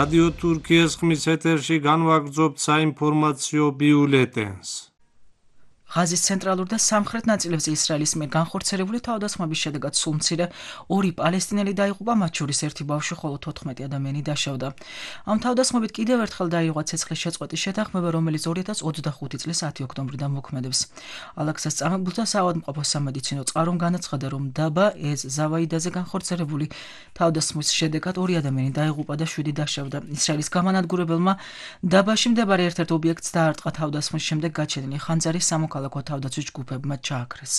რადიო თურქიის ხმის ეთერში განვაგრძობთ საინფორმაციო ბიულეტენს. ღაზის ცენტრალურ და სამხრეთ ნაწილებზე ისრაელის მიერ განხორციელებული თავდასხმების შედეგად სულ მცირე 2 პალესტინელი დაიღუპა, მათ შორის 1 ბავშვი, ხოლო 14 ადამიანი დაშავდა. ამ თავდასხმებით კიდევ ერთხელ დაიღუპა ცეცხლის შეწყვეტის შეთანხმება, რომელიც 2025 წლის 10 ოქტომბრიდან მოქმედებს. ალაქსას წამებულთა საავადმყოფო სამედიცინო წყარომ განაცხადა, რომ დაბა ზავაიდაზე განხორციელებული თავდასხმის შედეგად 2 ადამიანი დაიღუპა და 7 დაშავდა. ისრაელის გამანადგურებელმა დაბაში მდებარე ერთ-ერთ ობიექტს დაარტყა თავდასხმის შემდეგ გაჩენილი ხანძარი სამოქალაქო თავდაცვის ჯგუფებმა ჩააქრეს.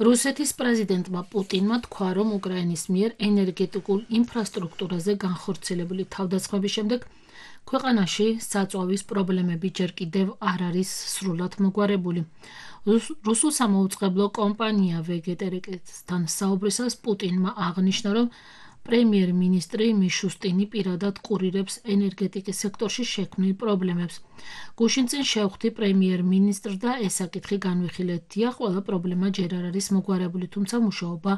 რუსეთის პრეზიდენტმა პუტინმა თქვა, რომ უკრაინის მიერ ენერგეტიკულ ინფრასტრუქტურაზე განხორციელებული თავდასხმების შემდეგ ქვეყანაში საწვავის პრობლემები ჯერ კიდევ არ არის სრულად მოგვარებული. რუსულ სამაუწყებლო კომპანია ვეგეტერეკესთან საუბრისას პუტინმა აღნიშნა, რომ პრემიერ-მინისტრი მიშუსტინი პირადად ყურირებს ენერგეტიკის სექტორში შექმნილ პრობლემებს. გუშინ წინ შევხვდი პრემიერ-მინისტრს და ეს საკითხი განვიხილეთ. დიახ, ყველა პრობლემა ჯერ არ არის მოგვარებული, თუმცა მუშაობა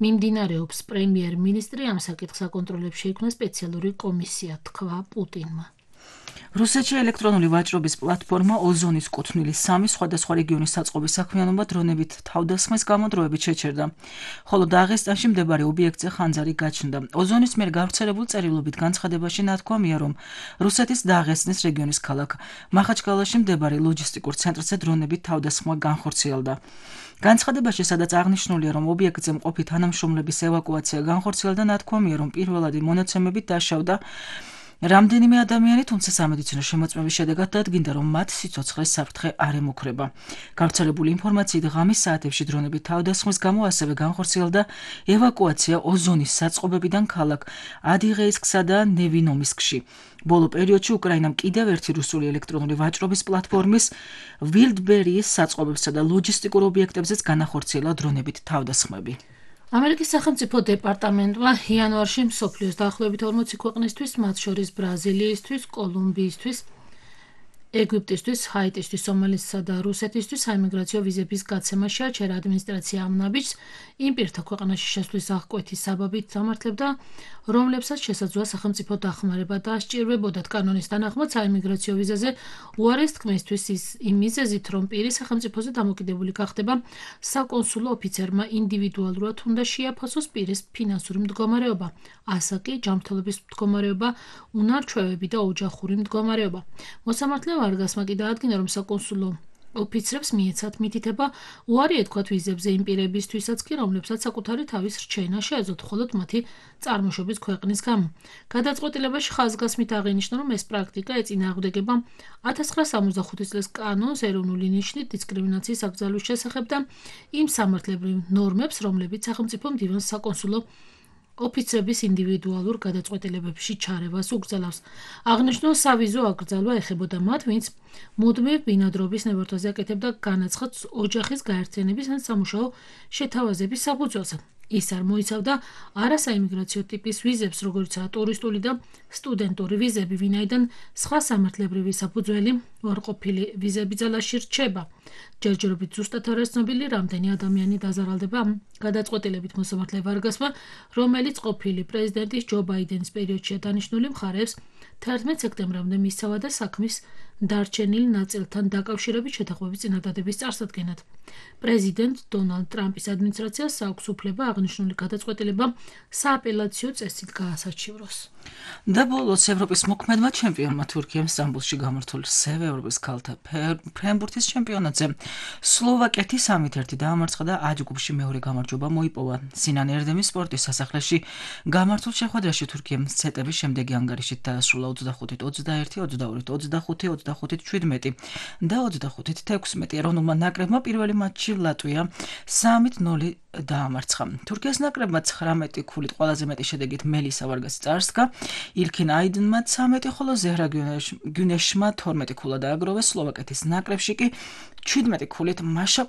მიმდინარეობს. პრემიერ-მინისტრი ამ საკითხს აკონტროლებს, შეიქმნა სპეციალური კომისია, თქვა პუტინმა. რუსეთში ელექტრონული ვაჭრობის პლატფორმა ოზონის კუთვნილი 3 სხვადასხვა რეგიონის საწყობის საქმიანობა დრონებით თავდასხმის გამო დროებით შეჩერდა, ხოლო დაღესტანში მდებარე ობიექტზე ხანძარი გაჩნდა. ოზონის მიერ გავრცელებულ წერილობით განცხადებაში ნათქვამია, რომ რუსეთის დაღესტნის რეგიონის ქალაქ მახაჩკალაში მდებარე ლოჯისტიკურ ცენტრზე დრონებით თავდასხმა განხორციელდა. განცხადებაში, სადაც აღნიშნულია, რომ ობიექტზე მყოფი თანამშრომლების ევაკუაცია განხორციელდა, ნათქვამია, რომ პირველადი მონაცემებით დაშავდა რამდენიმე ადამიანი, თუმცა სამედიცინო შემოწმების შედეგად დადგინდა, რომ მათ სიცოცხლის საფრთხე არ ემუქრება. გავრცელებული ინფორმაციით, ღამის საათებში დრონებით თავდასხმის გამო ასევე განხორციელდა ევაკუაცია ოზონის საწყობებიდან ქალაქ ადიღეისკსა და ნევინომისკში. ბოლო პერიოდში უკრაინამ კიდევ ერთი რუსული ელექტრონული ვაჭრობის პლატფორმის ვილდბერიის საწყობებსა და ლოჯისტიკურ ობიექტებზეც განახორციელა დრონებით თავდასხმები. ამერიკის სახელმწიფო დეპარტამენტმა იანვარში მსოფლიოს დაახლოებით 40 ქვეყნისთვის, მათ შორის ბრაზილიისთვის, კოლუმბიისთვის, ეგვიპტისთვის, ჰაიტისთვის, სომალეთსა და რუსეთისთვის საიმიგრაციო ვიზების გაცემა შეაჩერა. ადმინისტრაცია ამ ნაბიჯს იმ პირთა ქვეყანაში შესვლის აღკვეთის საბაბით დამართლებდა, რომლებსაც შესაძლოა სახელმწიფო დახმარება დაასჭირვებოდათ. კანონის თანახმად საიმიგრაციო ვიზაზე უარეს თქმისთვის იმ მიზეზით, რომ პირი სახელმწიფოზე დამოკიდებული გახდება, საკონსულო ოფიცერმა ინდივიდუალურად უნდა შეაფასოს პირის ფინანსური მდგომარეობა, ასაკი, ჯანმრთელობის მდგომარეობა, უნარჩვევები და ოჯახური მდგომარეობა. მოსამართლე ვარგასმა კი დაადგინა, რომ საკონსულო ოფიცრებს მიეცათ მითითება უარი ეთქვათ ვიზებზე იმ პირებისთვისაც კი, რომლებსაც საკუთარი თავის რჩენა შეეძლოთ მხოლოდ მათი წარმოშობის ქვეყნის გამო. გადაწყვეტილებაში ხაზგასმით აღინიშნა, რომ ეს პრაქტიკა ეწინააღმდეგება 1965 წლის კანონს ეროვნული ნიშნით დისკრიმინაციის აკრძალვის შესახებ და იმ სამართლებრივ ნორმებს, რომლებიც სახელმწიფო მდივანს საკონსულო ოფიცრების ინდივიდუალურ გადაწყვეტილებებში ჩარევას უკრძალავს. აღნიშნულ სავიზო აკრძალვა ეხებოდა მათ, ვინც მუდმივ ბინადრობის ნებართვაზე აკეთებდა განაცხადს ოჯახის გაერთიანების ან სამუშაო შეთავაზების საფუძველზე. ის არ მოიცავდა არასაიმიგრაციო ტიპის ვიზებს, როგორიცაა ტურისტული და სტუდენტური ვიზები, ვინაიდან სხვა სამართლებრივი საფუძველი უარყოფილი ვიზები ძალაში რჩება. ჯერჯერობით ზუსტად არ არის ცნობილი, რამდენი ადამიანი დაზარალდება ამ გადაწყვეტილებით. მოსამართლე ვარგასმა, რომელიც ყოფილი პრეზიდენტის ჯო ბაიდენის პერიოდშია დანიშნული, მხარეებს 11 სექტემბრამდე მისცავა და საქმის დარჩენილ ნაწილთან დაკავშირებით შეთანხმების წინადადების წარსადგენად. პრეზიდენტ დონალდ ტრამპის ადმინისტრაციას აქვს უფლება აღნიშნული გადაწყვეტილება სააპელაციო წესით გაასაჩივროს. და ბოლოს ევროპის მოქმედმა ჩემპიონმა თურქიამ სტამბოლში გამართულ სევ ევროპის ქალთა ფრენბურთის ჩემპიონატზე სლოვაკეთი 3-1 დაამარცხა და A ჯგუფში მეორე გამარჯვება მოიპოვა. სინან ერდემის სპორტის სასახლეში გამართულ შეხვედრაში თურქიამ სეტების შემდეგი ანგარიშით დაასრულა 25-21, 22-25, 25-17 და 25-16. ეროვნულმა ნაკრებმა პირველი მატჩი ლატვია 3-0 დაამარცხა. თურქეთის ნაკრებმა 19 ქულით ყველაზე მეტი შედეგით მელისა ვარგასი წარსდგა, ილქინ აიდნმა 13, ხოლო ზეჰრა გუნეშმა 12 ქულა დააგროვეს. სლოვაკეთის ნაკრებში კი 17 ქულით მაშა